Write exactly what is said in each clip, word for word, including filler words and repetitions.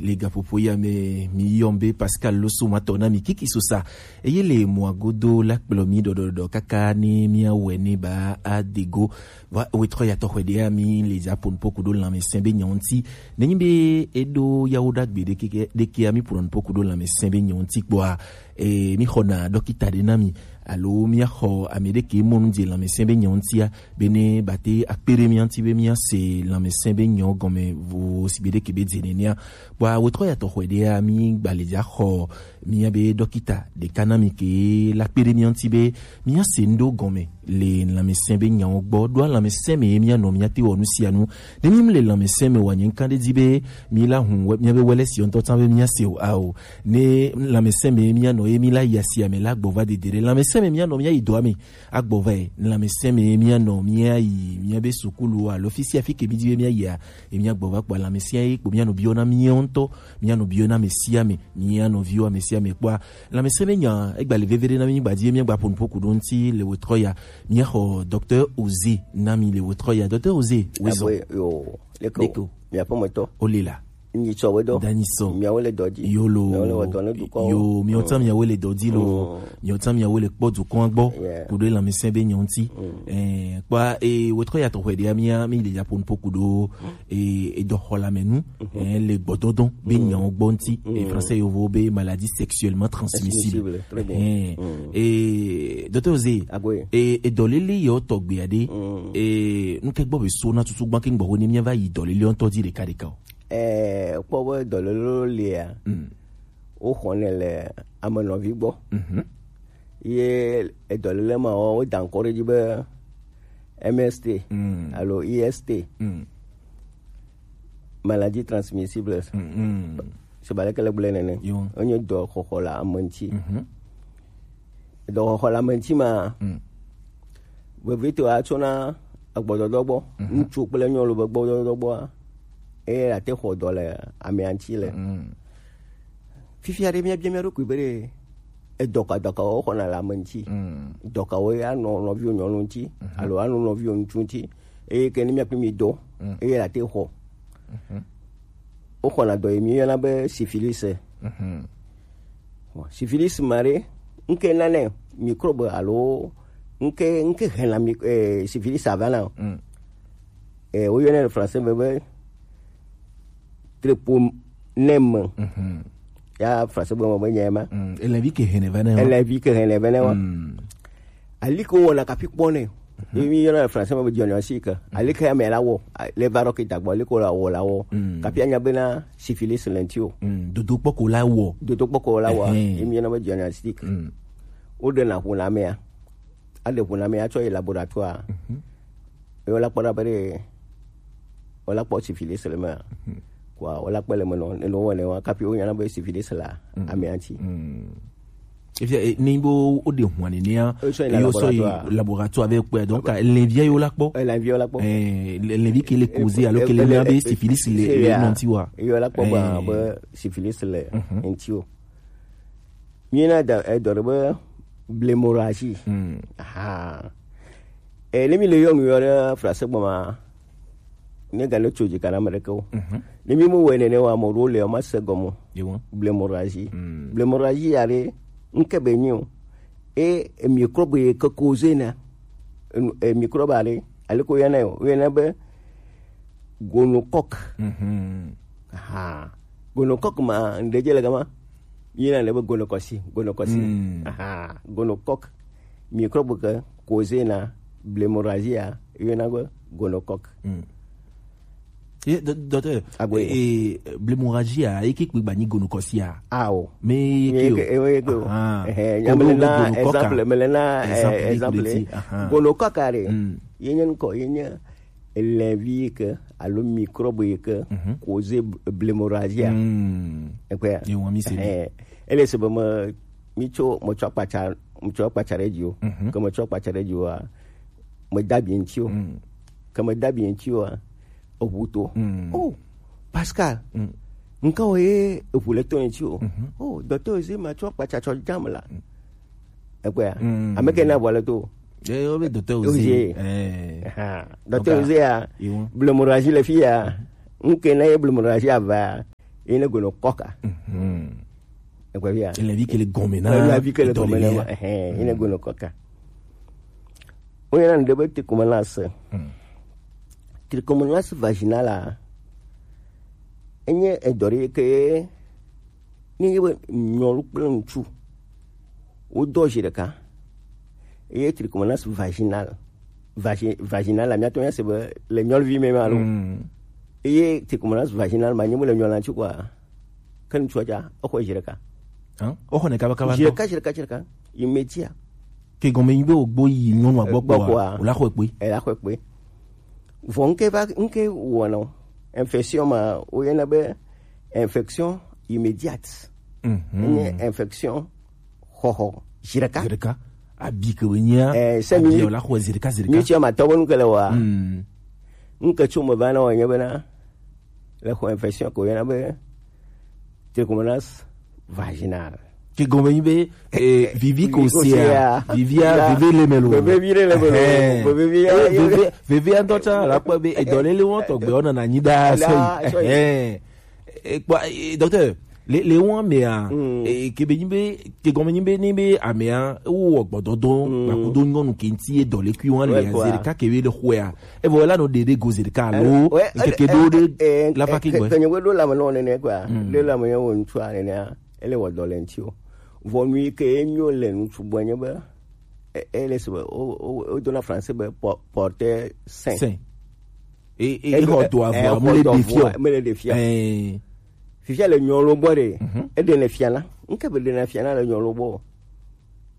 Le gaƒoƒo ya me mi yɔm be Pascal Loso matɔ na mi kiki sosa. Eye le mɔa godo la kplɔ mi ɖɔɖɔɖɔ kaka ne miawɔe ne ba adego. Va wetrɔ ya tɔxɔe ɖea mi le dza ƒo nuƒo ku ɖo lãmesẽ be nyawo ŋuti. Nenyi be eɖo yawo ɖagbe ɖeke ɖekea mi ƒo nuƒo ku ɖo lãmesẽ be nyawo ŋuti kpɔa, e, mi xɔna ɖɔkita ɖe na mi. Alo míaxɔ ame ɖe ke mɔ nu dze lãmesẽ be nyawo ŋutia, bene bate akpe ɖe mía ŋuti be míase lãmesẽ be nyawo gɔme vo sigbe ɖe ke be dze nenea. Kpɔa wetrɔ ya tɔxɔe ɖea, mi gbalẽdza xɔ mía be ɖɔkita ɖeka na mi ke la kpe ɖe mía ŋuti be míase nu ɖewo gɔme le lãmesẽ be nyawo gbɔ. Ɖoa lãmesẽ me ye míanɔ míate wɔ nu sia nu. Ne mi le lãmesẽ me wa nye ŋkan ɖe di be mi la hun wɛ- míabe wɛlɛ si ŋutɔ tsã be míase o ao. Ne lãmesẽ me ye míanɔ ye mi la yi asia me la gbɔ va dede ɖe. Lãmesẽ me míanɔ míayi dɔa me. Agbɔ va yi, lãmesẽ me míanɔ míayi míabe sukulu alo fi sia fi ke mídi be míayia, ye míagbɔ va kpɔ lãmesẽ ye kpo míanɔ biɔ na míawo ŋutɔ, míanɔ biɔ na ame sia ame, míanɔ viwo ame sia ame kpɔa. Lãmesẽ me nya egba le veve ɖe na mí gbadzi ye míagba ƒo nuƒo ku ɖo ŋuti le wetrɔ ya. Míaxɔ Docteur Oze na mi le wetrɔ ya. Docteur Oze, wezɔ. Abe yo, leko. Leko. Miaƒe metɔ. Ole la. Nyitsɔ we dɔ. Danyi sɔ. Miawo le dɔ dzi. Yolo. Miawo le wɔ dɔ ne dukɔ. Yo, miawo tsã miawo le dɔ dzi lo. Mm. Miawo tsã miawo le kpɔ dukɔa gbɔ. Yeah. Ku ɖo lãmesẽ be nyawo ŋuti. Mm. Eh, kpɔa, eh, wetrɔ ya tɔxɔe ɖea mía, mi le dza ƒo nuƒo ku ɖo, eh, edɔxɔlame nu, eh, le gbɔdɔdɔ be nyawo gbɔ ŋuti. Eh, français yovo be maladie sexuellement transmissible. Transmissible, très bien. Eh, eh, Docteur Oze, eh, edɔlele yewo tɔgbea ɖe, eh, nuke gbɔ be so na tutu gbã ke ŋgbɔ ho ne míava yi dɔlele ŋutɔ dzi ɖeka ɖeka o. Eh, kpɔ be dɔlele lea, mm, woxɔnɛ le ame nɔvi gbɔ. Mhm. Ye edɔlele ma wo, woda ŋkɔ ɖe edzi be M S T, mm, alo I S T. Mm. Maladie transmissible. Mm, mm. Se ba leke le gblɔe nene. Yo. Enye dɔxɔxɔ le ame ŋuti. Mhm. Dɔxɔxɔ le ame ŋuti ma, mm, vevitɔ atsɔna agbɔdɔdɔ gbɔ, mhm, ŋutsu kple nyɔnu be gbɔdɔdɔ gbɔa, eye ate xɔ dɔ le amea ŋuti le. Mm. Fifia ɖe míabia mía ɖokui be ɖe edɔ ka, dɔ kawo xɔna le ame ŋuti? Mm. Dɔ kawo anɔ nɔviwò nyɔnu ŋuti, mhm, alo anɔ nɔviwò ŋutsu ŋuti? Eye ke ne míakpli mi dɔ, mm, eye ate xɔ. Mhm. Woxɔna dɔ yi míyɔna be syphilis. Mhm. Bon, syphilis ma ɖe, ŋke nane microbe alo ŋke, ŋke hena mi-, eh, syphilis avana o. Mm. Eh, woyɔnɛ le français me be treponème. Mhm. Ya français be me be nya ma. Mm. Elẽvi ke hene va ne wa. Elẽvi ke hene va ne wa. Mm. Aliko wɔna kafi kpɔ nɛ. Mhm. Ye mi yɔna le français me be diagnostic. Mhm. Alike ame la wɔ, a, le va ɖɔkita gbɔ, aliko la wɔ, la wɔ. Mm. Kafi anya bena syphilis le ŋuti o. Mm. Dodo kpɔko la wɔ. Dodo kpɔko la wɔ. Ehɛn. Ye mi yɔna be diagnostic. Mm. Woɖena ƒo na amea. Aɖe ƒo na amea tsɔ yi laboratoire. Mhm. Ye wola kpɔ ɖa be ɖe, wola kpɔ syphilis le mea. Mhm. Kua wola kpɔ le me nɔ, ne wowɔ ne wa, kafi wonya na be syphilis la, mm, amea ŋuti. Mm. Efia, eh, ni bo o de hwan ni a, e sɔ yi laboratoire. Laboratoire avec quoi? Donc, eh, levia yo la kpɔ. Eh, levia yo la kpɔ. Eh, le-, levi ke le cause, alors que le mia be syphilis le, le non ti wa. Yo la kpɔ ba, eh, be syphilis le, mhm, ŋuti o. Mi na da, eh, dɔ be blémorragie. Hmm. Aha. Eh, ne mi le yɔ nu yɔ ɖe français gbɔ ma, ne ga ne tso dzi kana ame ɖeke o. Mhm. Ne mi mo wɛ nene wa, ame ɖewo le, ma se gɔme o. Yewo. Blémorragie. Mm. Blémorragie ya ɖe, ŋke be nyi o. E, e microbe ye ke cause na. E, e microbe aɖe, ale ko yɔna yo, yɔna be gonocoque. Mhm. Aha. Gonocoque ma, ŋɖe dze le gama. Yina le be gonocoque, gonocoque. Mm. Aha. Gonocoque. Microbe ke cause na blémorragie ya, yɔna be gonocoque. Mm. Ye, do-, docteur, agwe, eh, eh, blémorragie a, eke kpe gba nyi gonocoque a? Awo. Mais eke o. Eke, eh, eke o. Ah. Eh, eh, comme nyamele na gonocoque a. Exemple, mele na, eh, exemple, exemple. Aha. Gonocoque a ɖe. Mm. Ye nye ŋkɔ, ye nye lɛvi yi ke alo microbe yi ke, mhm, cause b-, blémorragie a. Mm. Ekpea? Ye wɔn mi se. Eh, ele se be me, mi tso, me tso akpatsa, me tso akpatsa ɖe dzi o. Mhm. Ke me tso akpatsa ɖe dzi o a, me da bi ŋuti o. Mm. Ke me da bi ŋuti o a, eʋu to. Mm. Oh, Pascal. Mm. Ŋka wo ye eʋu le to ŋuti o. Mhm. Oh, docteur Oze ma tso akpatsa tsɔ jam la. Mm. Ekpea? Mm. Ame ke na ʋua le to. Eh, wo be docteur Oze. Oze. Eh. Aha. Docteur Oze ya. Iwo. Blémorragie le fi ya. Mhm. Ŋke na ye blémorragie a va. Ye ne gɔme nɔ kɔka. Mhm. Ekpɔ fia. Ele vi kele gɔme na. Ele vi kele gɔme na. Edɔlele ya. Ehɛn, ye ne gɔme nɔ kɔka. Wo yɔna nu ɖe be trichomonas. Hmm. Trichomonas vaginal a, enye edɔ ɖe ke ne nye be nyɔnu kple ŋutsu wodɔ zi ɖeka. Eye trichomonas vaginal, vagi-, vaginal la, míatɔ míase be le nyɔnuvi me ma lo. Mm. Eye trichomonas vaginal ma, nye be le nyɔnu la ŋuti kɔa, ke ŋutsua dza, exɔe zi ɖeka. Hã? Exɔnɛ kabakaba zi ŋutɔ? Ɖeka, zi ɖeka, zi ɖeka. Immédiat. Ke gɔme nyi be wògbo yi nyɔnua gbɔ kpoa, wòla xɔe kpoe. Ela xɔe kpoe. Vɔ ŋke va, ŋke wɔnɔ. Infection ma, woyɔna be infection immédiate. Mhm. Enye infection xɔxɔ zi ɖeka. Zi ɖeka. Abi ke wònyea, eh, se mi, abi wòla xɔe zi ɖeka, zi ɖeka. Mi tsia ma tɔ be nu ke le wɔa. Mm. Ŋke tso me va na wɔ nye bena, le xɔ infection ko yɔna be trichomonas vaginal. Ke gɔme nyi be, eh, vivi ko sia, vivia, veve le me lo. Veve vi le me lo. Ehɛn. Veve vi, eh, veve, vevia ŋutɔ tsã la kpɔ be edɔlele wɔn tɔgbe wɔn nana nyi ɖaa sɔyi. Ehɛn. Eh, kpɔ, eh, docteur, le, le wɔn mea, mm, eh, ke be nyi be, ke gɔme nyi be, ni be amea, wo wɔ gbɔdɔdɔ, mm, gbakudo nyɔnu ke ŋuti ye dɔlekui wɔn le, ouais, quoi, zi ɖeka ke be le xɔea. Evɔ la no ɖe ɖe go zi ɖeka alo, eh, ouais, ŋkeke eh, ɖo ɖe, eh, la va ke gbɔ. Ke nye ɖo la me nɔ nene quoi. Mm. Ɖe la me wo ŋutsua nene, ele wɔ dɔ le ŋuti o. Vɔ nu yi ke enyo le ŋutsu gbɔ nye be, e-, ele se be, o, o, o dona français be po-, porteur sain. Sain. E, e, e xɔ dɔ avɔ, e xɔ mele dɔ ɖe fia. Mele ɖe fia. Eh. Fifia le nyɔnu gbɔ ɖe, mhm, eɖe le fia na. Ŋke be ɖe na fia na le nyɔnu gbɔ.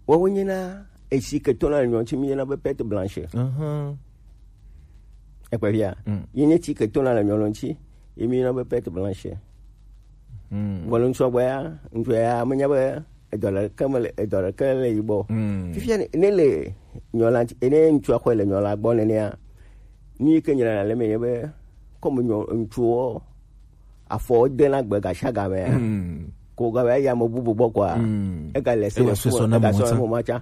Woawo nye na esi ke tona le nyɔnu ŋuti, mi yɔna be perte blanche. Mhm. Ekpɔ fia. Mm. Ye nye ti ke tona le nyɔnu ŋuti, ye mi yɔna be perte blanche. Mm. Vɔ le ŋutsua gbɔ ya, ŋutsua ya menya be edɔ ɖeke me le, edɔ ɖeke le yi gbɔ. Mm. Fifia ne, ne le nyɔnu la ŋuti, ne ŋutsua xɔe le nyɔnu la gbɔ nenea, nu yi ke nyina le me nye be, comme nyɔ-, ŋutsuwo afɔ de na gbe gasiagame ya. Mm. Ko ga ya ame bubu gbɔ kɔa, mm, ega le se ega le sɔsɔ na ega le sɔsɔ mo tsã.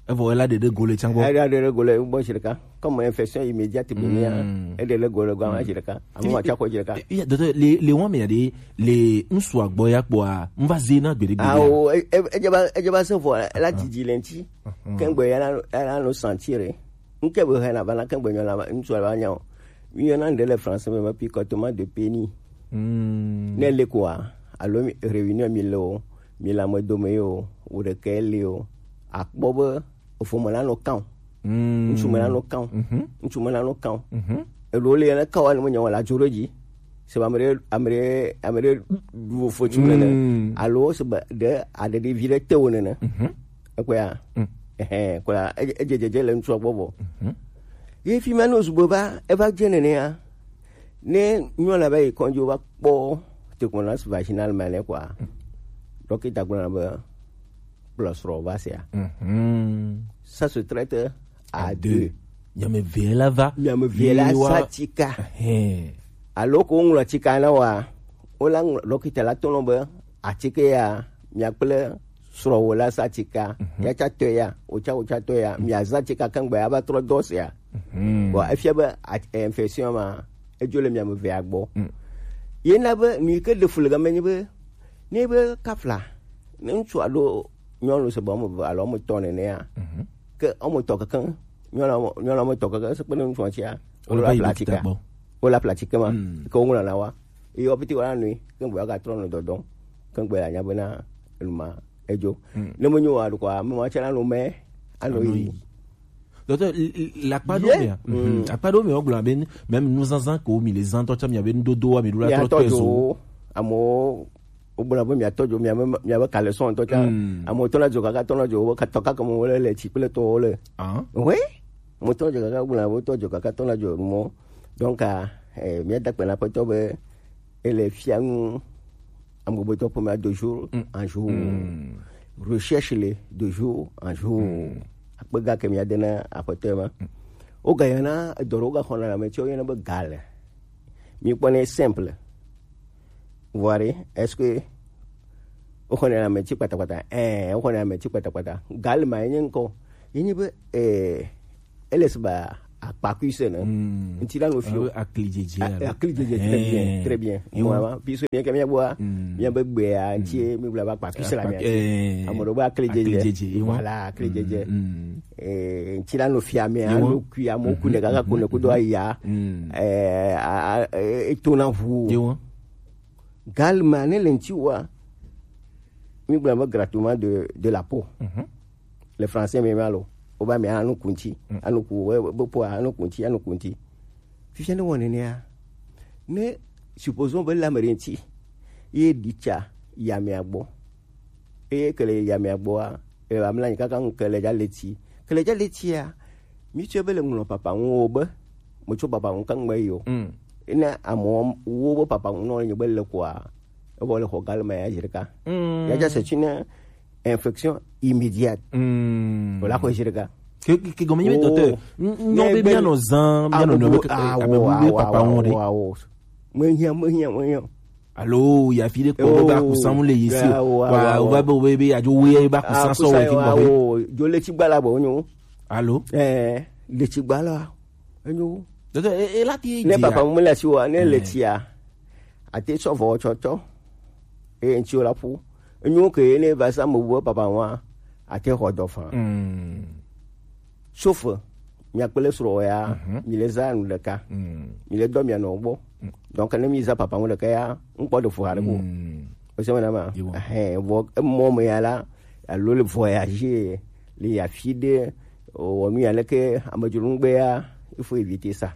Evɔ ela ɖeɖe go le tsã gbɔ. Ela ɖeɖe go le gbɔ zi ɖeka. Comme infection immédiate be mia, mm, eɖe le go le gbɔ ma zi ɖeka. Ame ma tsã kɔ zi ɖeka. Eh, eh, docteur, le, le wɔn mea ɖe, le ŋutsua gbɔ ya kpɔa, ŋva ze na gbeɖe gbeɖe. Awo, e, e, edze va, edze va se vɔ, ela didi le ŋuti. Mhm. Kengbe ya la, la no sentir. Ŋke be hena va na kengbe nyɔnu la, ŋutsua va nya o. Mi yɔna ŋɖe le français me be picotement de pénis. Hmm. Ne le kɔa, alo mi, réunion mi le o, mi le ame dome ye o, wo ɖeke le o, akpɔ be evo me la nɔ kan o. Hmm. Ŋutsu me la nɔ kan o. Mhm. Ŋutsu me la nɔ kan o. Mhm. Eɖewo le ne kan wa ne me nya o la dzo ɖe dzi. Se be ame ɖe, ame ɖe, ame ɖe ɖu fo tsu nene. Hmm. Alo se be ɖe aɖeɖi vi ɖe te wo nene. Mhm. Ekpɔa? Mm. Ehɛn, kpɔa, edze, edze dzedze le ŋutsua gbɔ vɔ. Mhm. Ye fi ma ne wòzu be va, eva dze nenea, ne nyɔnua va yi kɔdzi, wova kpɔ trichomonas vaginal ma nɛ kɔa, mm, ɖɔkita gblɔna be kplɔ srɔ̃ va sea. Mhm. Ça se traite à deux. Miame eve la va. Miame eve la sa tsika. Ehɛn. Alo ko woŋlɔ tsika na wa, wola ŋlɔ, ɖɔkita la tɔ nɔ be, atsike ya, mia kple srɔ̃wò la sa tsika, mhm, ya tsa tɔe ya, wotsa, wotsa tɔe ya, miazã tsika keŋgbe ava trɔ dɔ sia. Mhm. Bon, efia be, a-, infection ma, edzo le miame evea gbɔ. Mm. Ye na be, nu yi ke ɖe fu le game nye be, ne be kafla, ne ŋutsu alo nyɔnu se be wɔme eve alo wɔme etɔ̃ nenea, mhm, ke wɔme etɔ̃ kekeŋ, nyɔnua wɔme, nyɔnua wɔme etɔ̃ kekeŋ, se kple ŋutsua tsia, wole va yi ɖɔkita gbɔ. Wole apla tsike ma, mm, ke woŋlɔ na wa. Eye wo pete woanɔ yi, ke ŋgbe woagatrɔ nɔ dɔdɔm, ke ŋgbe yeanya bena enu ma edzo. Mm. Ne menyo o aɖe kɔa, ame ma tsɛ nanɔ mɛ, anɔ yi. Anɔ yi. Docteur, l-, l-, le akpa ɖewo mea, mhm, akpa ɖewo mea, wogblɔna be, même nuzazã kewo mi le zã ŋutɔ tsã, miabe nudodowoa, mi ɖo la trɔ tɔe zo. Amewo, wogblɔna be miatɔ dzo, miabe, miabe caleçon ŋutɔ tsã. Mm. Amewo tɔna dzo kaka, tɔna dzo, wobe katɔ kaka me wole le tsi kple tɔwo le. Ah. Oui. Amewo tɔna dzo kaka, wogblɔna be wotɔ dzo kaka, tɔna dzo mɔ. Donc, ah, eh, míada akpe na Aƒetɔ be ele fia nu amegbetɔ ƒomea de jour, mm, en jour. Mm. Recherche le de jour en jour. Mm. Akpe ga ke míade na Aƒetɔ ma. Mm. Wogayɔna edɔ ɖe wogaxɔna le ame tsiwo yɔna be gale. Míkpɔnɛ simple. Vous voyez, est-ce que woxɔnɛ le ame tsi kpatakpata? Ɛɛ, woxɔnɛ le ame tsi kpatakpata. Gale ma ye nye ŋkɔ. Ye nye be, eh, ele se ba Pakuise ne. Ŋuti la no fio. Akli jeje. Akli jeje, très bien, très bien. Moi, puisque bien que mi boa, mi be gbe a, ŋuti mi bla ba pakuise la mi. Amo do ba akli jeje. Voilà, akli jeje. Eh, ŋuti la no fia mi a no kui amo ku ne kaka ku ne ku do aya. Eh, a, a, eh, etona ʋu. Galma ne le ŋuti wa. Mi bla ba gratuitement de, de la peau. Les Français me malo. Oba mi anu kunti. Anu ku, we, we, bo po anu kunti, anu kunti. Fifia ne wone ne a. Ne, supposons be la merinti. Ye dicha ya mi agbo. Eye kele ya mi agbo a. E ba mla kaka ŋu kele ja leti. Kele ja leti a. Mi tse be le ŋlɔ papa ŋu o be. Mo tso papa ŋu ka ŋgbe yo. Ene amo wo be papa ŋu no le be le kwa. E bo le xɔ galma ya jirika. Ya ja c'est une infection immédiate. Voilà quoi jirika. Ke, ke, ke gɔme nye be docteur. Nyɔ be mia nɔ zan, mia nɔ nɔ be, abe wo be papa ŋu de. Me hiã, me hiã, me hiã. Alo ya fi ɖe kpɔ be akusamu le yi si o. Wa, o va be, o be, be adzo we be akusa sɔ we fi gbɔ. Dzo le tsi gbala bo nyo. Alo? Eh, le tsi gbala. Enyo. Donc, e, e la ti ne papa mu le si wa, ne le tsi a. Ate sɔ vɔ tsɔtsɔ. E ŋtsi o la ƒu. Enyo ke ne va sa mo bo papa wa. Ate xɔ dɔ fan. Sauf, mia kple srɔ̃wò ya, mi le zã nu ɖeka. Mi le dɔ mia nɔ gbɔ. Donc, ne mi zã papa ŋu ɖeka ya, ŋkpɔ ɖe fu haɖe ko. O se me na ma. Ehɛn, vɔ emɔ me ya la, alo le voyager, le yi afi ɖe, wɔ nu ya leke amedzro ŋgbe ya, il faut éviter ça.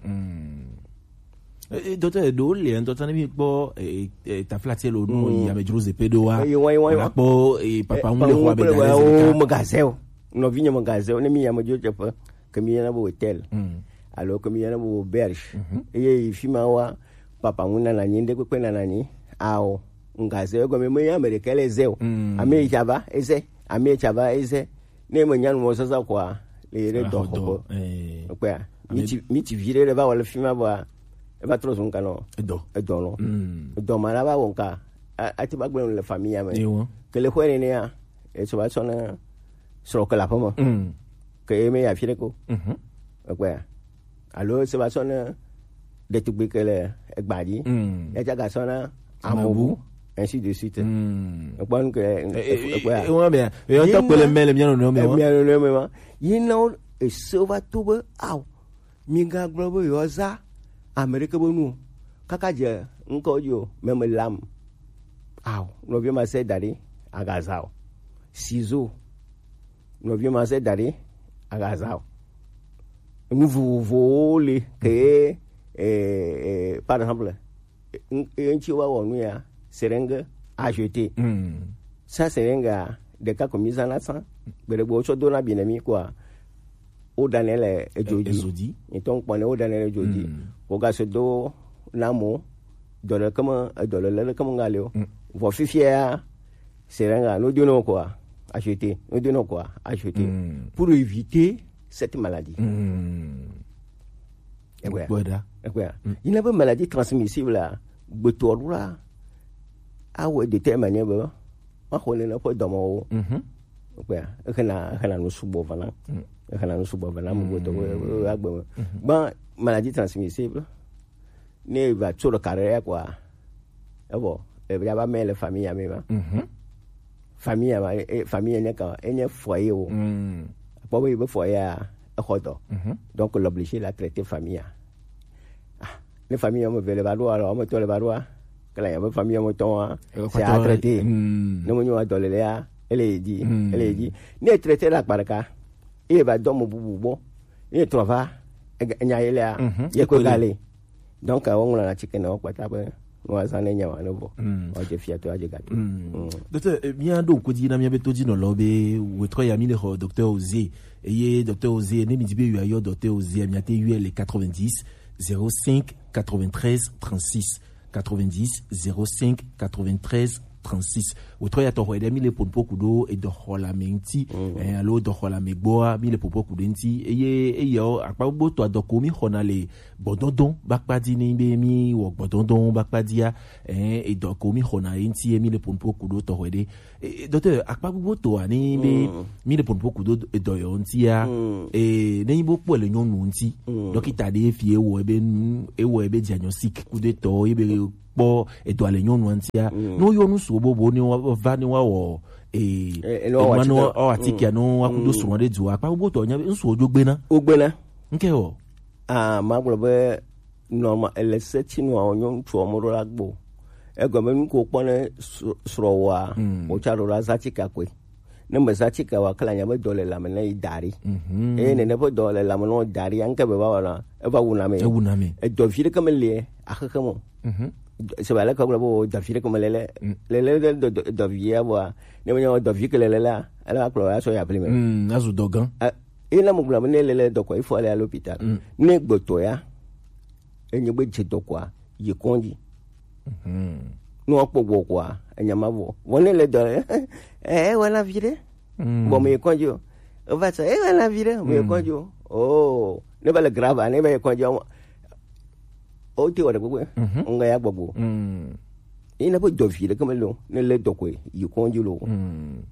Eh, eh, docteur, ɖewo le ŋutɔ ne mi kpɔ, eh, eh, taflatse lo nu yi amedzro zepe ɖo wa. Eye wa, eye wa, eye wa. Kpɔ, eh, papa ŋu le xɔ abe da le zeka. Megazɛ o. Nɔvinye megazɛ o. Ne mi yi amedzro dzeƒe, ke mi yɔna be hôtel. Alo ke mi yɔna be auberge. Eye yi fi ma wa, papa ŋu nana nyi, ŋɖe kpekpe nana nyi. Ao, megazɛ o. Egɔme me ya ame ɖeka le zɛ o. Ame yi tsa va, ezɛ. Ame yi tsa va, ezɛ. Ne me nya nu mɔ sasa kɔa, le yi ɖe dɔ xɔ gbɔ. Kpea, mi ti, mi ti vi ɖe va wɔ le fi ma bɔa, eva trɔ zɔn kanɔ. Edɔ. Edɔ nɔ. Edɔ ma la va wɔ nka. A, ati ba gblẽ le famille ya me. Kele xɔ ne ya, e so ba sɔ na srɔ̃ ke le aƒeme. Ke ye me ya fi ɖe ko. Kpea. Alo se va sɔ na ɖetugbi ke le egba dzi. Ya tsa ga sɔ na amobu, ainsi de suite. Ekpɔ nu ke, ekpɔa. Ewa bia, ewa tɔ kpele mele mia nɔ nɔ me wa. Mia nɔ nɔ me wa. Yi na wo ese va to be, ao. Mi ga gblɔ be yewoa za ame ɖeke be nu o. Kaka dze ŋkɔ dzi o, meme lam. Ao, nɔvi ma se da ɖi, aga za o. Sizo. Nɔvi ma se da ɖi, aga za o. Nu vovovowo le ke, eh, eh, par exemple, n-, ŋtsi wa wɔ nu ya, seringue à jeter. Sa seringue a, ɖeka ko mi zana san, gbeɖe gbe wotsɔ do na bi ne mi kɔa, wo ɖanɛ le edzo dzi. Edzo dzi. Nyitɔ ŋkpɔ ne wo ɖanɛ le edzo dzi. Wo ga se do na mo, dɔ le keme, edɔ le le keme ŋga le o. Vɔ fifia ya, seringue a, no do no kɔa, à jeter. No do no kɔa, à jeter. Pour éviter cette maladie. Ekpɔe ɖa. Ekpɔe ɖa. Yi na be maladie transmissible la, gbetɔ ɖo la, awɔe de telle manière be, ma xɔ nene ƒe dɔmewo. Ekpɔe ɖa. Exena, exena nu sugbɔ vana. Exena nu sugbɔ vana, mo gbetɔ, agbe me. Bon, maladie transmissible, ne va tso ɖe kare ya kɔa, evɔ, e va ba me le famille ya me ma. Famille ya ma, e, famille ya nye ka, enye foyer wo. Kpɔ be, be foyer ya, exɔ dɔ. Donc, l'obligé la traiter famille ya. Ah, ne famille ya me ve le va ɖo, alors, me tɔ le va ɖo, ke la ya be famille ya me tɔ wa, c'est à traiter. Ne me nyo wa dɔ le le ya, ele yi dzi, ele yi dzi. Ne traiter la kpa ɖeka, e va dɔ mo bubu gbɔ. Ye trɔ va, ega-, nya ye lea, ye ko gale. Donc, wo ŋlɔ na tsike na wo kpata be, no azã ne nya wa ne vɔ. Wa je fia to, wa je gato. Docteur, eh, mia ɖo ŋku dzi na mia be to dzi nɔ lɔ be, wetrɔ ya mi le xɔ docteur Oze. Eye docteur Oze, ne mi di be yɔ, yɔ docteur Oze, mia te yɔ le quatre-vingt-dix, zéro cinq, quatre-vingt-treize, trente-six. Quatre-vingt-dix, zéro cinq, quatre-vingt-treize, trente-six. Wòtrɔ ya tɔxɔ ɖe mi le ponpo ku ɖo edɔxɔlame ŋuti, eh, alo dɔxɔlame gbɔa, mi le ponpo ku ɖe ŋuti. Eye, eye o, akpa gbogbo tɔ adɔko mi xɔna le gbɔdɔndɔn bakpa di ni be mi wɔ gbɔdɔndɔn bakpa dia, eh, edɔko mi xɔna ye ŋuti ye mi le ponpo ku ɖo tɔxɔ ɖe. Eh, docteur, akpa gbogbo tɔ ani be mi le ponpo ku ɖo edɔ yɔ ŋutia, eh, ne yi bo kpɔ le nyɔnu ŋuti, dɔkita ɖe fi ewɔ ebe nu, ewɔ ebe diagnostic ku ɖe tɔ, ebe kpɔ edɔ ale nyɔnu ŋutia. No yɔ nu sugbɔ bobo ne wa va ne wa wɔ, eh, eh, ne wa wɔ enua ne wa atike, wa, mm, wa ku do srɔ̃ ɖe du. Akpa gbogbo tɔ nya be ŋsu wo dzo gbena. Wo gbena. Nke o. Ah, ma gblɔ be normal, ele se ti nua wo nyɔ ŋutsu wo mo ɖo la gbo. Egɔme nu ko kpɔ ne srɔ̃ wa, mm, wo tsa ɖo la za ti kakwe. Ne me za ti ka wa kla nya be dɔ le lame ne yi da ɖi. Mhm. Eye nene ƒe dɔ le lame ne wo da ɖi, anke be va wɔna, eva wuna me. Ewuna me. Edɔ vi ɖeke me le axexe me o. Mhm. Se va le ka gblɔ be o dɔ vi ɖeke me le le, mm, le le le dɔ, dɔ, dɔ vi ya bɔa, ne me nya dɔ vi ke le le la, ele va kplɔ ya sɔ ya ble me. Mm, azu dɔ gã. Eh, eye na mo gblɔ be ne le le dɔ kɔ, il faut aller à l'hôpital. Mm. Ne gbɔtɔ ya, enye be dze dɔ kɔa, yi kɔdzi. Mhm. Ne woakpɔ gbɔ kɔa, enya ma vɔ. Vɔ ne le dɔ, eh, eh, wɔna vi ɖe. Mm. Bɔ me yi kɔdzi o. Eva sɔ, eh, wɔna vi ɖe, me yi kɔdzi o. Oh, ne va le grave, ne va yi kɔdzi o. O te wɔ ɖe gbogbo. Mhm. Ŋga ya gbɔgbo. Mm. Yi na be dɔ vi ɖe ke me lo, ne le dɔ koe, yi kɔdzi lo. Mm.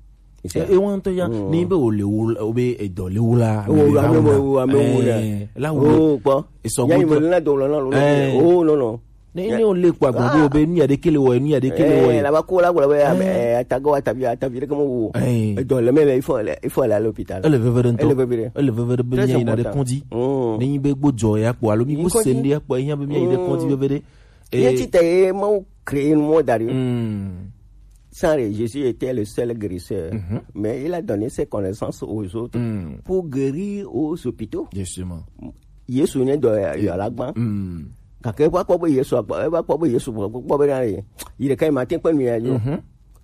E, e wan to ya, ni be o le wo, o be edɔ le wo la, o, ame ame wo, ame wo la. Eh, la wo. O, kpɔ. Esɔ ya yi gbogbo. Me na dɔ lo na lo. Eh. O, no, no. Ne, ne o le kpɔ agbo be nu ya ɖe kele wɔ, nu ya ɖe kele wɔ. Eh, la ba ko la gblɔ be, eh, atago atavi, atavi ɖe ke mo wo. Eh. Edɔ le me le, il faut aller, il faut aller à l'hôpital. Ele veve ɖe ŋutɔ. Ele veve ɖe. Ele veve ɖe be mi yi na ɖe kɔdzi. Mm. Ne yi be gbɔdzɔ ya kpɔ, alo mi gbɔ se ɖe ya kpɔ, ya be mi yi ɖe kɔdzi veve ɖe. Ye ti te ye Mawu créé nu mɔ da ɖi. Mm. Sans rien, Jésus était le seul guérisseur. Mhm. Mais il a donné ses connaissances aux autres, mm, pour guérir aux hôpitaux. Justement. Yesu ne dɔ ya, ya la gban. Mm. Gake va kpɔ be Yesu agba, va kpɔ be Yesu kpɔ be na ye. Yi ɖeka ma te kpe nu ya jo. Mhm.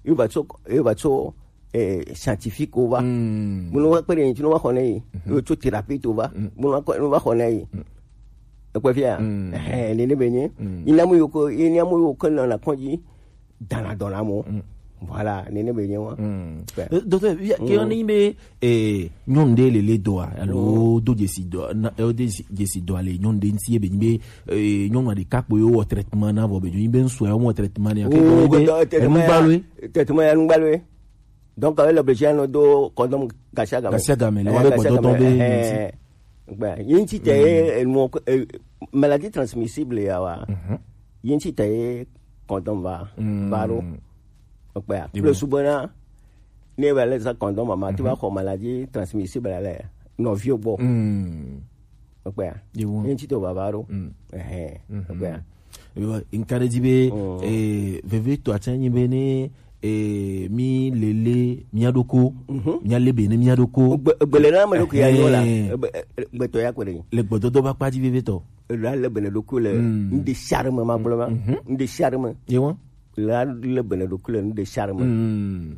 Il va tso, il va tso, eh, scientifique wo va. Mm. Munu va kpe ɖe ŋuti, nu va xɔ ne yi. Mhm. Yo tso thérapie to va. Mm. Munu va kɔ, nu va xɔ ne yi. Mm. Ekpe fia. Mm. Eh, nene be nye. Mm. Ina mu yo ko, ina mu yo ko na, na kɔdzi. Dana dɔna mo. Mm. Voilà, nene be nye wa. Mm. Ouais. Eh, docteur, ya, ke on yi be, eh, nyɔnu ɖe le le dɔa, alo do dzesi dɔ, na, eh, do dzesi, dzesi dɔa le nyɔnu ɖe ŋuti ye be nyi be, eh, nyɔnu ɖeka kpo yo wɔ traitement na vɔ be nyi be ŋsu ya wɔ traitement ne ya. Oh, ke be, traitement ya, enu gbalo ye. Traitement ya enu gbalo ye. Donc, avec l'obligation de condom gasiagame. Gasiagame, le wa be gbɔdɔdɔ be, eh, eh, gbe, ye ŋuti te, eh, enu, eh, maladie transmissible ya wa. Mhm. Ye ŋuti te ye condom va, va ɖo. Ekpea. Plus subena, ne va le za condom ma, ti va xɔ maladie transmissible le nɔviwo gbɔ. Mm. Ekpea. Ye ŋuti te va, va ɖo. Mm. Ehe. Mhm. Ekpea. Yo, nka ɖe dzi be, eh, veve to atsa nyi be ne, eh, mi lele mia ɖoko, mia le be ne mia ɖoko. Gbe, gbe le na me ɖoko ya yo la. Eh. Gbe, eh, gbetɔ ya ko ɖe. Le gbɔdɔdɔ ba kpa dzi veve tɔ. La le be ne ɖoko le, mm, ŋde sia ɖe me ma gblɔ ma. Mhm. Ŋde sia ɖe me. Ye wa? La le be ne ɖoko le ŋde sia ɖe me. Mm.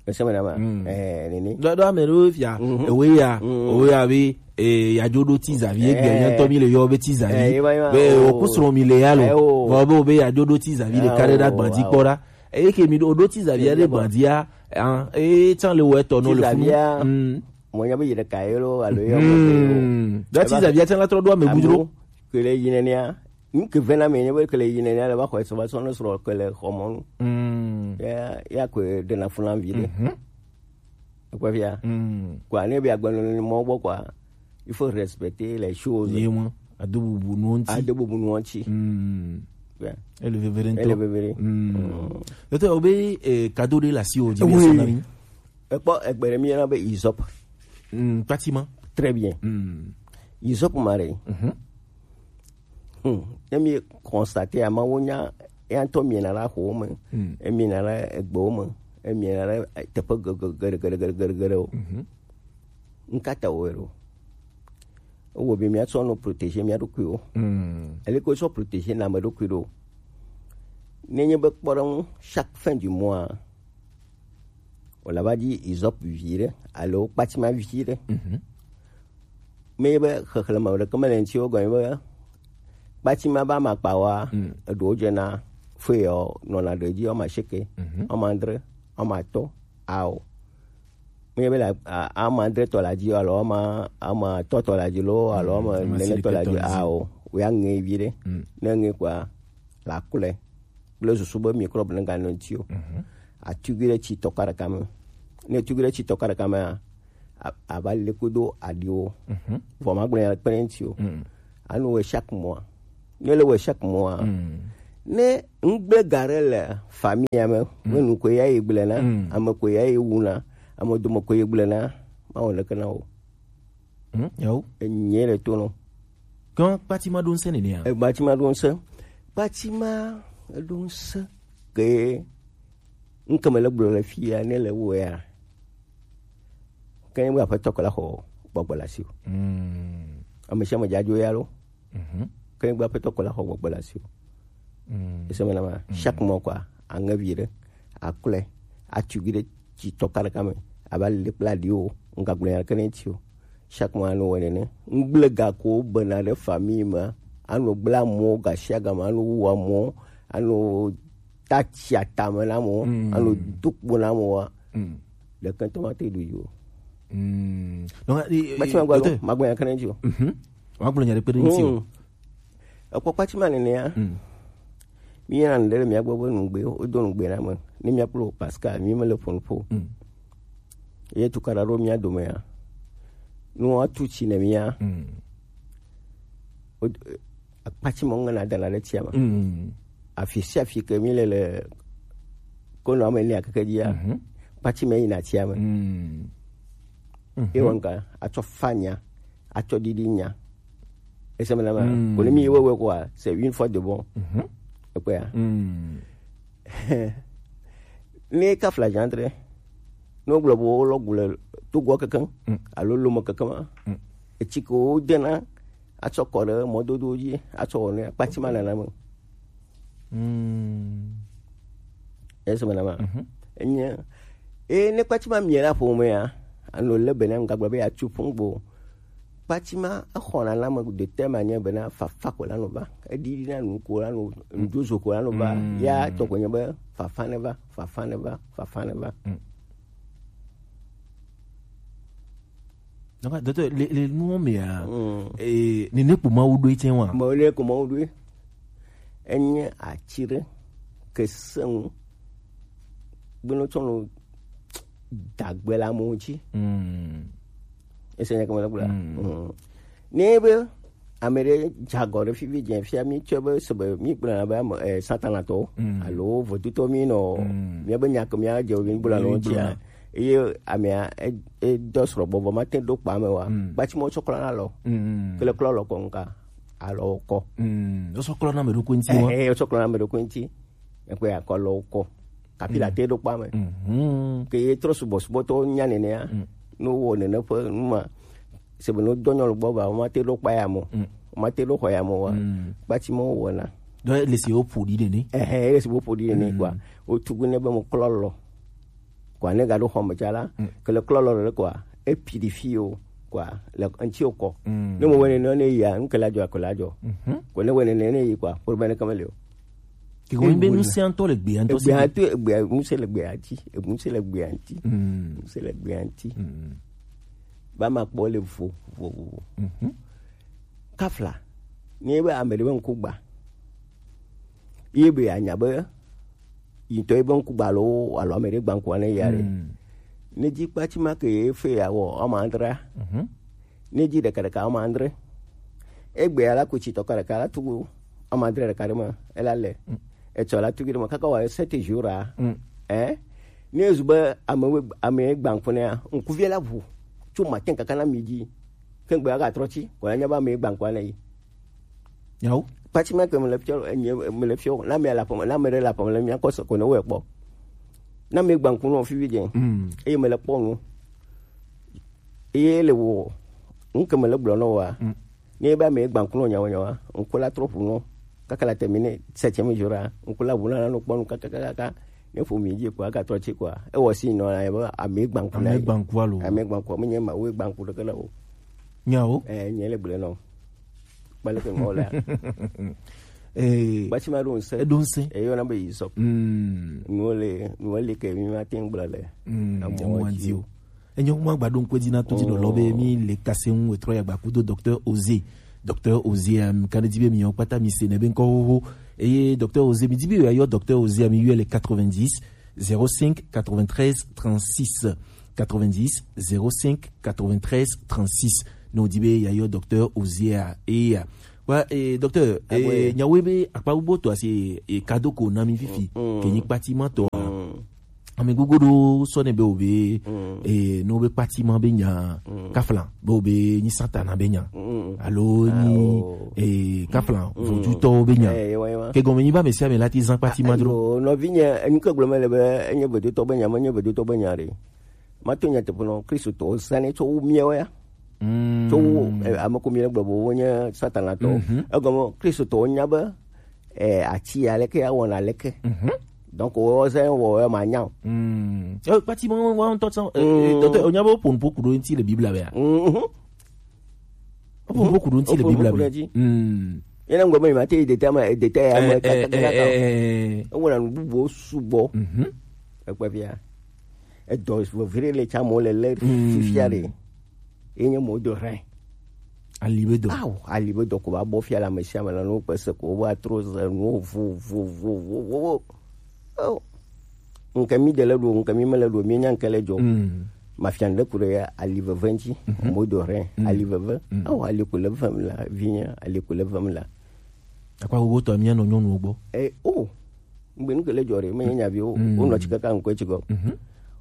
Ese me na ma. Mm. Eh, nene. Ɖo, ɖo ame ɖewo fia, mhm, ewe ya, mhm, ewe ya be, eh, ya dzo ɖo ti zavi, egbe, eh, nya ŋutɔ mi le yɔ be ti zavi. Eh, ye va, ye va. Be, oh, o ku srɔ̃ mi le ya lo. Eh, oh. Vɔ be o be ya dzo ɖo ti zavi le, eh, ka ɖe ɖa, oh, gbadzi kpɔ ɖa. Eye ke mi ɖo, ɖo ti zavi ya ɖe gbadzia, ah, eh, tsan le wɔ etɔ no le funu. Ti zavia, mm, mo nya be yi ɖeka ye lo, alo ye mo. Mm. Ɖo ti zavia tsan la trɔ ɖo ame bu dro. Ke le yi nenia. Nu ke vena me nye be ke le yi nenia le va xɔ eso va sɔ ne srɔ̃ ke le xɔ mɔnu. Mm. Ya, ya ko ɖena fu na vi ɖe. Mhm. Ekpɔ fia. Mm. Quoi, ne be agbenɔnɔ mɔ gbɔ quoi, il faut respecter les choses. Ye mɔ, ado bubu nuwo ŋuti. Ado bubu nuwo ŋuti. Mm. Yeah. Ele veve ɖe ŋutɔ. Ele veve ɖe. Mm. Mm. Docteur, o be, eh, cadeau ɖe le asi o dzi. Oui. Be sɔ na mi. Ekpɔ, egbe ɖe mi yɔna be hysope. Mm, kpatima. Très bien. Mm. Hysope ma ɖe. Mhm. Hmm. Ne mi constater, ama wo nya, ya ŋutɔ miena la xɔwo me. Hmm. Emiena la egbewo me. Emiena la teƒe geɖe, geɖe, geɖe, geɖe, geɖe, geɖewo. Mhm. Ŋka ta wo ɖo? Ewɔ be miatsɔ nɔ protéger mia ɖokuiwo. Hmm. Ele ko sɔ protéger na ame ɖokui ɖo. Nenye be kpɔɖeŋu chaque fin du mois, wòle va dzi hysope vi ɖe alo kpatima vi ɖe. Mhm. Me be xexlẽme ɖeke mele ŋuti wo gɔme be kpatima be amakpawoa, mm, eɖewo dzena Fue o nɔna ɖe dzi ɔma sheke, ɔma andre, ɔma tɔ, ao. Míebe la ama andre tɔ la dzi alo ama ama tɔ tɔ la dzi lo alo ama nene tɔ la dzi, ao. Wea ŋe vi ɖe. Ne ŋe kɔa, la klɔe kple susu be microbe ne ganɔ ŋuti o. Atugui ɖe tsi tɔ ka ɖeka me. Ne tugui ɖe tsi tɔ ka ɖeka mea, a- ava le kudo aɖiwo. Vɔ magblɔ nya kpe ɖe ŋuti o. Anu wɔ chaque mois. Ne le wɔ chaque mois, ne ŋgble ga ɖe le famille me, ne nu ko ya yi gblẽ na, ame ko ya yi wu na, ame dome ko yi gblẽ na, ma wɔ leke na o. Hmm, yawo. Enye le to no. Kan kpati ma ɖo ŋsẽ nene ya. E kpati ma ɖo ŋsẽ. Kpati ma ɖo ŋsẽ ke ŋkeme le gblɔ le fi ya ne le wo ya. Ke nye be aƒetɔ ko la xɔ gbɔgbɔ le asi o. Ame sia ame dzadzo ya lo. Ke nye be aƒetɔ ko la xɔ gbɔgbɔ le asi o. Ese me na ma, chaque mois quoi, aŋe vi ɖe, aklɔe, atugui ɖe tsi tɔ ka ɖeka me, ava le kple aɖiwo, ŋgagblɔ nya ɖeke ne ŋuti o. Chaque mois anu wɔ nene. Ŋgble ga ko bena ɖe famille me, anu gblẽ amewo gasiagame, anu wu amewo, anu ta tsi atame na amewo, anu do kpo na amewoa. Ɖeke ŋutɔ mate ɖu yi o. Donc, e- e- Kpati ma gblɔ, docteur, magblɔ nya ɖeke ne ŋuti o. Magblɔ nya ɖeke ne ŋuti o. Ekpɔ kpati ma nenea. Míyina nu ɖe le mía gbɔ be nugbe, wodo nugbe na ame. Ne mía kplo Pascal, mí me le ƒo nu ƒo. Ye tukaɖa ɖo mía domea. Nu woatu tsi ne mía. Wo- Akpati ma ŋena dana ɖe tsia me. Afi sia afi ke mí le le konɔ ame ne akeke dzia. Kpati ma yina tsia me. Ye wɔ ŋka atsɔ fa nya, atsɔ ɖiɖi nya. Ese me na ma. Ko ne mi wewe quoi, c'est une fois de bon. Ekpe ya. Ne ka fla jantre. No gblɔ bo lo gule to go kankan. Alo lo mo kankan ma. Etsi ko dena atsɔ kɔ ɖe mɔdodo dzi atsɔ wɔ ne kpati ma nana me. Ese me na ma. Enye e ne kpati ma mie la ƒo me ya. Ano le bena ŋgagblɔ be ya tsu ƒungbo. Kpati ma exɔna na ame de telle manière bena fafa ko la no va. Eɖiɖi na nu ko la no, nudozo ko la no va. Ya tɔ ko nye be fafa ne va, fafa ne va, fafa ne va. Donc, docteur, le, le nuwo mea, eh, nene kpo Mawu ɖoe tsɛ wa. Mawu ne ko Mawu ɖoe. Enye atsi ɖe ke sẽŋu. Gbenɔ tsɔ no dagbe le amewo ŋuti. Ese nya ke mele gblɔa? Ne be ame ɖe dze agɔ ɖe fifi dze fia mi tsɔe be se be mi gblɔna be ame, eh, Satanatɔwo alo vodutɔwo mi nɔ, míabe nya ke mía dze mi gblɔna wo ŋutia. Eye amea e- edɔ srɔ̃ gbɔvɔ mate ɖo kpa me wa. Kpati mɔ tsɔ klɔna lɔ. Kele klɔ lɔ kɔ ŋka. Alɔ kɔ. Wosɔ klɔna ame ɖokui ŋuti wa. Eh, wosɔ klɔna ame ɖokui ŋuti. Ekpe akɔ lɔ kɔ. Kapi la te ɖo kpa me. Ke ye trɔ subɔsubɔtɔwo nya nenea. No wɔ nene ƒe nu ma. Se be no dɔ nyɔnu gbɔ ba, womate ɖo kpa ya mo. Womate ɖo xɔ ya mo wa. Kpati mo wɔna. Donc, le si wo ƒo ɖi nene. Ehe, le si wo ƒo ɖi nene quoi. Wo tugu ne be mo klɔ lɔ. Quoi, ne ga ɖo xɔ me tsa la, ke le klɔ lɔ le quoi, e purifié o quoi, le ŋuti o kɔ. Ne mo wene ne ne ya, ŋke la jɔ, ko la jɔ. Ko ne wene ne ne yi quoi, problème ne kama le o. Ke ko be ŋusẽ ŋutɔ le gbea ŋutɔ si. Gbea to, gbea, ŋusẽ le gbea ŋuti, ŋusẽ le gbea ŋuti. Ŋusẽ le gbea ŋuti. Ba ma kpɔ le vo, vo, vo, vo. Kafla, ne be ame ɖe be ŋku gba. Ye be anya be, yi ŋutɔ ye be ŋku gba alo, alo ame ɖe gba ŋkua ne ya ɖe. Ne dzi kpati ma ke ye fe ya wɔ, ɔma adra. Ne dzi ɖeka ɖeka ɔma andre. Egbe ya la ku tsi tɔ ka ɖeka la tugu ɔma adre ɖeka ɖe me ela le. Etsɔ la tugu ɖe me kaka wa sept jours a. Eh? Ne zu be ame we- ame gba ŋku ne ya, ŋkuvia la ʋu tso matin kaka na midi. Ke ŋgbe aga trɔ tsi, ko la nya be ame gba ŋkua ne yi. Yawo. Pati ma ke mele fiɔ, enye mele fiɔ, na me la pɔmɔ, na me la pɔmɔ le mia kɔ se ko ne wo kpɔ. Na me gba ŋku no fifi dze. Eye mele kpɔ nu. Eye le wo, ŋke mele gblɔ no wa. Ne be ame gba ŋku no nyawo nyawa, ŋku la trɔ ƒu no. Kaka la termine septième jour a, ŋku la ʋu na no kpɔ nu kaka kaka. Ne ƒo mi dzi ko aga trɔ tsi ko a. E wɔ si no la be ame gba ŋku la. Ame gba ŋku alo. Ame gba ŋku me nye ma wo gba ŋku ɖeke le o. Nyawo. Eh, nye le gblɔ no. Kpaleke ŋɔ lea. Eh, Gbatima ɖo ŋusẽ. Eɖo ŋusẽ. Eyɔna be Hyssop. Mm. Nuwo le, nuwo le ke mi ma te ŋu gblɔ le. Mm, amɔ emo dzi o. Enyo, mo agba ɖo ŋkpe dzi na to dzi nɔ lɔ be mi le kase ŋu etrɔ ya gba kudo docteur Osé. Docteur Osé, um, kan di be mi yɔ kpata mi se ne be ŋkɔ xoxo. Eye docteur Osé, mi di be yɔ docteur Osé, mi yɔ le quatre-vingt-dix, zéro cinq, quatre-vingt-treize, trente-six. Quatre-vingt-dix, zéro cinq, quatre-vingt-treize, trente-six. No di be ya yɔ docteur Osé a, e ya. Wa, eh, docteur, eh, nyawo be akpa gbogbo to asi, eh, kadoko na mi fifi, ke nyi kpati ma to. Ame gbogbo ɖo sɔ ne be o be, eh, no be kpati ma be nya, kafla, be o be nyi Satana be nya. Alo nyi, eh, kafla, vodutɔ be nya. Ke gɔme nyi ba me sia me la ti zan kpati ma dro. Nɔvi nye, enu ke gblɔ me le be, enye vodutɔ be nya, menye vodutɔ be nya ɖe. Mato nyateƒe nɔ, Kristotɔwo zãnɛ tso wo miawo ya. Tso wo, eh, ame ko mi le gblɔ be wonye Satana tɔwo. Egɔme, Kristotɔwo nya be, eh, ati ya leke ya wɔna leke. Donc, wo zã wɔ ya ma nya o. Eh, pati mo wa ŋutɔ tsã, eh, eh, docteur, o nya be o pon poku ɖo ŋuti le Biblia me ya. O pon poku ɖo ŋuti le Biblia me. Ye na ŋgɔ me ma te yi deta ma, deta ya me kaka kaka. Ewɔna nu bubuwo sugbɔ. Ekpe fia. Edɔ vevere le tsa mo le le fifia ɖe. Ye nye mo do hɛn. Ali be dɔ. Awo, ali be dɔ ko ba bɔ fia le ame sia ame le nu kpe se ko, wo ba tro ze nu vo, vo, vo, vo, vo, vo. Oh. Nke mi de le ɖo, nke mi me le ɖo, mi nya nke le dzɔ. Mafia ɖe ku ɖe ali veve ŋuti. Mo do hɛn, ali veve. Awo, ali ko le vem la, vinya, ali ko le vem la. Akpa gbogbo tɔ mía nɔ nyɔnuwo gbɔ. Eh, oh. Ŋgbe nu ke le dzɔ ɖe, menye nyaviwo, wonɔ tsi kaka ŋkɔe tsi gɔ.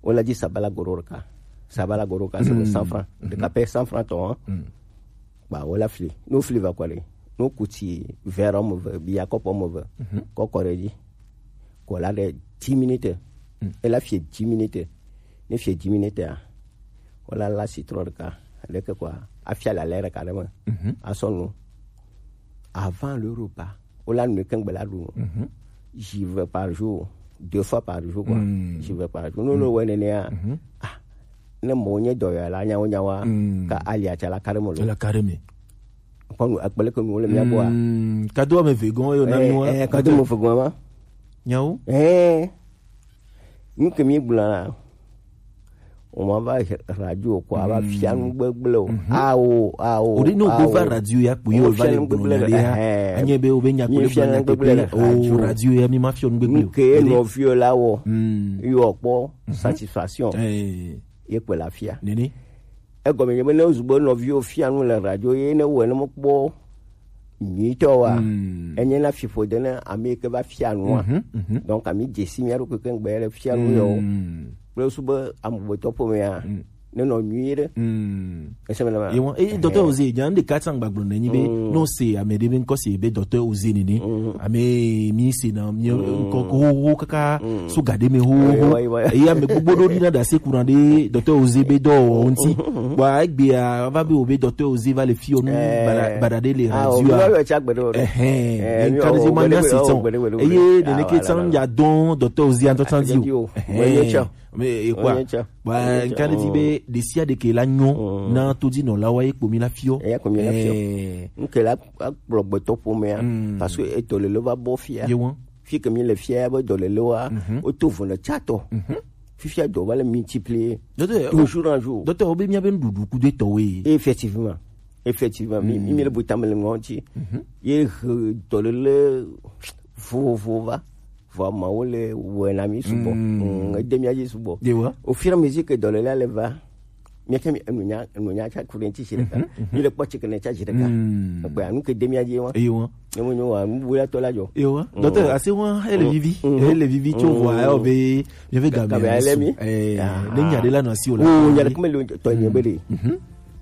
Wole dzi sabala goro ɖeka. Sabala goro ɖeka, c'est cent francs. Ɖeka pɛ cent francs tɔ, hein. Ba, wole fli. No fli va kɔ ɖe. No kuti verre ɔme eve, bia kɔpo ɔme eve. Kɔ kɔ ɖe dzi. Kɔ la ɖe dix minutes. Ela fie dix minutes. Ne fie dix minutes a, wole la citron ɖeka. Ɖeke kɔa, afia la lɛ ɖeka ɖe me. Asɔ nu. Avant le repas, wole nu ke ŋgbe la ɖu. J'y vais par jour, deux fois par jour, quoi. J'y vais par jour. No, no, wɔ nenea. Ah, ne mo nye dɔyɔla nyawo nyawoa, ka ali atsa la ka ɖe me lo. La ka ɖe me. Kpɔ nu, akpele ke nu wole mía gbɔa. Kado ame eve gɔn yo na mi wa. Eh, kado ame eve gɔn ma. Nyawo? Eh. Nu ke mi gblɔ la, o ma va radio ko, a va fia nu gbegble o. Awo, awo. O de no go va radio ya kpo yo va le gblɔ na ya. Anye be o be nya ko le gblɔ na gbegble o radio ya mi ma fia nu gbegble o. Nu ke nɔviwo la wɔ. Yo kpɔ satisfaction. Eh. Ye kpe la fia. Nene. Egɔme nye be ne wozu be nɔviwo fia nu le radio ye ne wɔe ne mekpɔ nyuitɔ wa, enye na fiƒode ne ame yi ke va fia nua. Donc, ami dze si mía ɖokui ke ŋgbe le fia nu yɔ. Kple wosu be amegbetɔ ƒomea, ne nɔ nyui ɖe. Ese me le ma. Ye wan, eh, docteur Oze, nya ɖeka tsã gbagblɔ ne nyi be, no se ame ɖe be ŋkɔ se be docteur Oze nene. Ame mi se na mi ŋkɔ ko ho kaka so ga ɖe me ho. Eye ame gbogbo ɖo ɖi na ɖase kuna ɖe docteur Oze be dɔ wɔ ŋuti. Bua egbea va be wo be docteur Oze va le fi ɔ nu baɖa ɖe le radio a. Ɛhɛn, nka ɖe ma nya se tsã. Eye nene ke tsã ya dɔn docteur Oze ŋutɔ tsã di o. Ɛhɛn. Me ekwa. Bua nka ɖe di be ɖe sia ɖe ke la nyɔ na todinɔlawo ye kpo mi la fiɔ. Eya kpo mi la fiɔ. Nke la kplɔ gbetɔ ƒomea, parce que edɔlele va bɔ fia. Ye wan. Fi ke mi le fia be dɔlelewoa, woto vo le tsatɔ. Fifia dɔ va le multiplier de jour en jour. Docteur, obe mía be nuɖuɖu kudo etɔwoe. Effectivement. Effectivement, mi, mi, mi le bu tame le ŋɔti. Ye he dɔlele vovovo va. Vɔ ma wo le wɔe na mi sugbɔ. Ede mía dzi sugbɔ. Ye wa. Au fur et à mesure que dɔlele le va, mi ke mi enu nya, enu nya tsa ku ɖe ŋuti zi ɖeka. Mi le kpɔ tsi ke ne tsa zi ɖeka. Egbe anu ke de mía dzi wa. Ye wa. Ne mo nyo wa, nu bu ya tɔ la dzɔ. Ye wa. Docteur, ase wa, ele vivi. Ele vivi tso vɔ ayo be mi ve ga mi. Eh, ne nya ɖe la nɔ asi o la. O nya ɖe kome le tɔ nye be ɖe.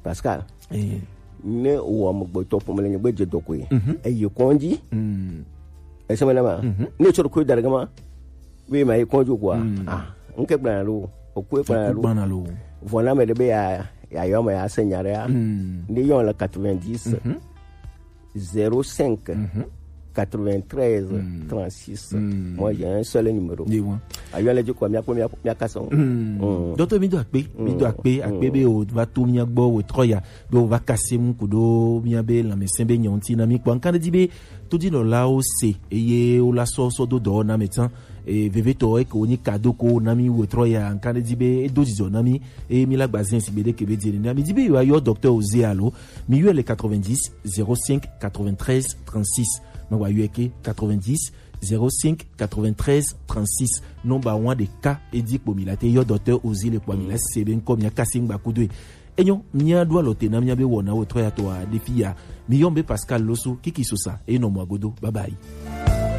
Pascal. Ne wɔ amegbetɔ ƒome le nyigbe dze dɔ koe. Eye kɔdzi. Ese me na ma. Ne tsɔ koe da ɖe ma. Be ma yi kɔdzi koa. Ah, nke gbana lo. Okoe gbana lo. Vɔ na me ɖe be ya, ya yɔ me ya se nya ɖe ya. Ne yɔ le quatre-vingt-dix, zéro cinq, quatre-vingt-treize, trente-six. Moi, j'ai un seul numéro. Ye wan. Ayo ale dzi ko mia ko mia mia kasa. Mm. Dɔtɔ, mi do akpe, mi do akpe, akpe be o va to mia gbɔ, o trɔ ya be o va kase mu kudo mia be lãmesẽ be nyɔ ŋuti na mi kpɔ. Nkan di be todinɔlawo se eye wo la sɔ sɔ do dɔ na me tsan. E vevetɔ eke wo nyi kado ko na mi, o trɔ ya, nkan di be e do dzidzɔ na mi. E mi la gba zen si be de ke be di na mi di be yo ayɔ docteur Ozé alo mi yɔ le quatre-vingt-dix zéro cinq quatre-vingt-treize trente-six. Ma wa yɔ ke quatre-vingt-dix zéro cinq quatre-vingt-treize trente-six. Nɔmba wan ɖeka edi kpo mi la te yɔ docteur Ozé le kpo mi la se be ŋkɔ mia kasi ŋgba kudo e. Enyo, mia do alɔ te na mia be wɔna wo trɔ ya tɔ a de fi ya. Mi yɔ be Pascal Loso Kiki Sosa e nɔ mɔ agodo. Bye bye.